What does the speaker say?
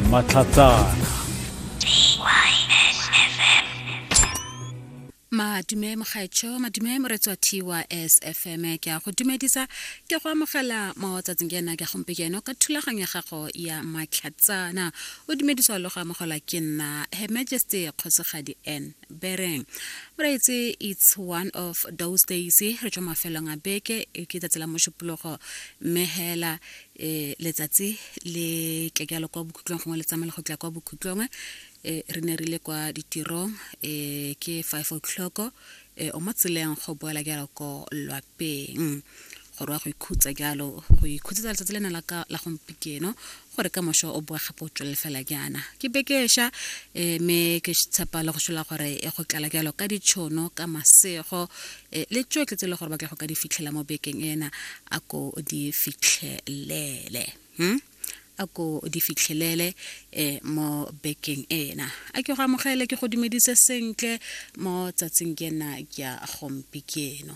Matlhatsana. Madume mogaetsho, madume moretsi wa TYSFM, ke a go dumedisa, ke go amogela mo tsatsing ke ena ke gompieno ka thulaganyo ya gago ya Matlhatsana. O dumediswa le go amogelwa ke nna Her Majesty Kgosigadi N Bereng. Moreetsi, it's one of those days, re tswa mafelong a beke, e ke tsatsi la Mošupologo, mme hela e letsatsi le tle jalo kwa bokhutlong, gongwe le tsamaile go tla kwa bokhutlong. E re ne re ile kwa ditirong, e ke 5 o'clock, e o mo tseleng go boela jalo ko lwapeng gore wa go ikhutsa jalo, go ikhutsetsa letsatsi lena la ka la gompieno, gore ka moso o boe gape o tswelele fela jaana. Ke bekesha e mme ke tshepa le go sola gore e go tlala jalo ka ditšhono, ka masego e le tsotlhe tse e le gore ba tla go ka di fitlhela mo bekeng ena, a ko di fitlhelele, a ko di fitlhelele e mo bekeng ena. A ke go amogele, ke go dumedise sentle mo tsatsing ke ena ya gompieno.